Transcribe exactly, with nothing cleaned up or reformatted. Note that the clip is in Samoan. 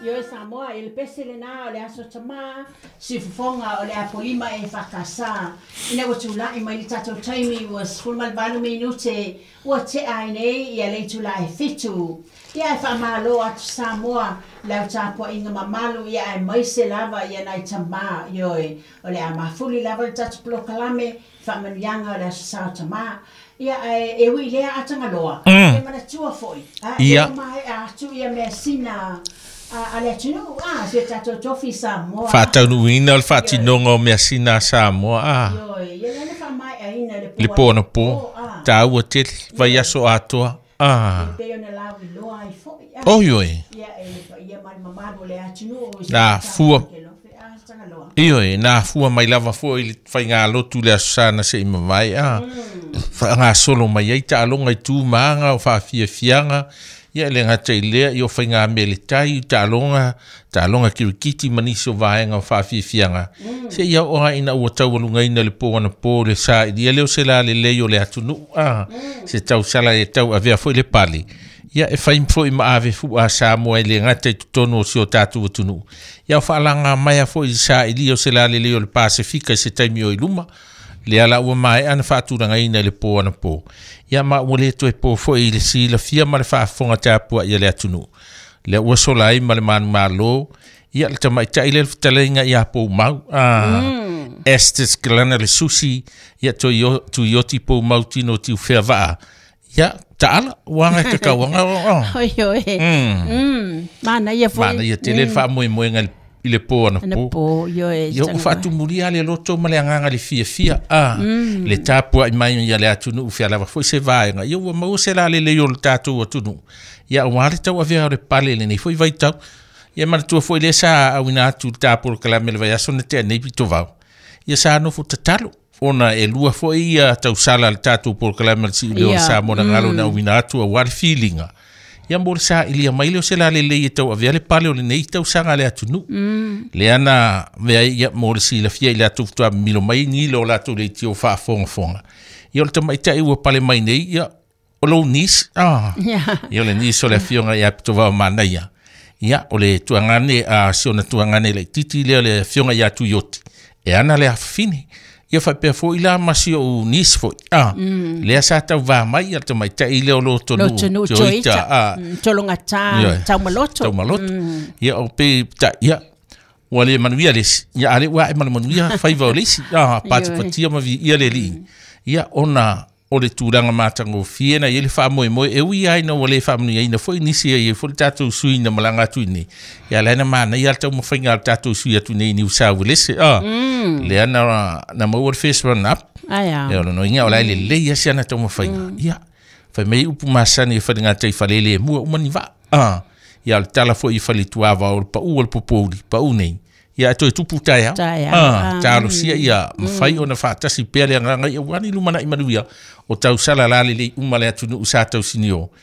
Ioe Samoa, i le pese lena o le aso tamā, siufofoga o le Apolima e faakasā. Ina ua tula'i mai le tatou taimi ua sefulu ma le valu minute ua te'a ai nei ia le itulā e fitu. Ia e faamālō atu Samoa lau tapua'iga mamalu ia aemaise lava ia nai tamā ioe. O le a mafuli lava le tatou polokalame faamanuiaga o le aso sa o tamā. Ia ae e ui lea atagaloa, Mm. e manatua fo'i. A Ia. e mae'a atu ia measina a, a le atunuu a si o tatou tofi Samoa. Faataunuuina o le faatinoga o measina a Samoa a. Ioe, ia lea na faamae'aina le Le po anapo. A. Tāua tele, vaiaso atoa. A. E pei ona lauiloa ai fo'i a. Oi oi. Ia e le paia ma le mamalu o le atunuu i Na fua. A tagaloa. Ioe, na afua mai lava fo'i i le faigalotu le aso sa na se'i mavae a. Faagasolo mai ai taaloga i tu ma aga o faafiafiaga. Ia e le gata i lea i o faigamea le tai, taaloga, taaloga kirikiti ma nisi o vaega o faafiafiaga. Seia oo lava ina ua taualugaina le po anapo le sailia lea o se lalelei o le atunuu a. Se tausala e tauavea foi le pale. Ia e fai foi ma ave fu'a Samoa e le gata i totonu o si o tatou atunuu. Ia o faalaga mai foi i sailia o se lalelei o le Pasefika i se taimi o i luma. Lea la ua mae'a na faatulagaina i le po anapo. Ia ma ua le toe po foi i le silafia ma le faafofoga tapua'i a le atunuu. Lea ua sola ai ma le manumalo. Ia le tamaita'i lea le fetalaiga ia Poumau. Ah, mm. Estes Kalana le susi. Ia toi Tuioti Poumau tino tiu fea vaa. Ia, taala, uaga e kakauaga. Oh. Oi oi. Mm. Mm. Mana ia foi. Mana ia tele le faamoemoega i le po Ana anapo. po, ioe. Ia ua faatumulia le loto ma le agaga le fiafia a le tapua'i mai ia le atunuu fealava foi se vaega. Ia ua maua se lalelei o le tatou atunuu. Ia auā le tauavea o le pale lenei foi vaitau. Ia manatua foi lea sa auina atu le tapolokalame le vaiaso na tea nei pitovao. Ia sa nofo tatalo ona e lua foi ia tausala le tatou polokalame le si'uleo o le Ia, Samoa na galo na auina atu auā le filiga. Ia mo le sa'ilia mai lea o se lalelei e tauavea le pale o lenei tausaga a le atunuu. Lea na vea ia mo le silafia i le atu faatoa milo mai ni lo latou leitio faafogafoga. Ia o le tamaita'i ua pale mai nei, ia o lou niece. Ah. Ia. Ia o le niece o le afioga ia Pitovao Manaia. Ia o le tuagane a si ona tuagane laititi lea o le afioga ia Tuioti. E ana le afafine. Ia faapea foi la ma si ou niece foi. Ah, lea sa tauvā mai ia le tamaita'i lea o lo tonu. Lotonu Toita. Toita. Ah, Mm, Tologata, Ioe. Taumaloto. Taumaloto. Ia o pe ta ia ua le manuia le isi. Ia ale ua e ma le manuia faiva o le isi. Ah, patipatia ma vi ia le alii. Ia ona o le tulaga matagofie na i ai le faamoemoe e ui ai na ua le faamanuiaina foi nisi ai foi le tatou sui na malaga atu i nei. Ia lea na manaia le taumafaiga a le tatou sui atu nei i Niu Sauelese. Ah, lea na, na maua le first run up. Aia. Ia o lona uiga o la e lelei asi ana taumafaiga. Ia, fai mai upu masani e falegatai falele e mua uma ni vaa. Ah, ia o le tala foi i faletuava o le pa'u o le popouli, pa'u nei. Ia e toe tupu taeao. Taeao. Ah, Ah, talosia ia mafai ona faatasi pea le agaga ia uani lumana'i manuia o tausala lalelei uma le atunuu sa tausinio.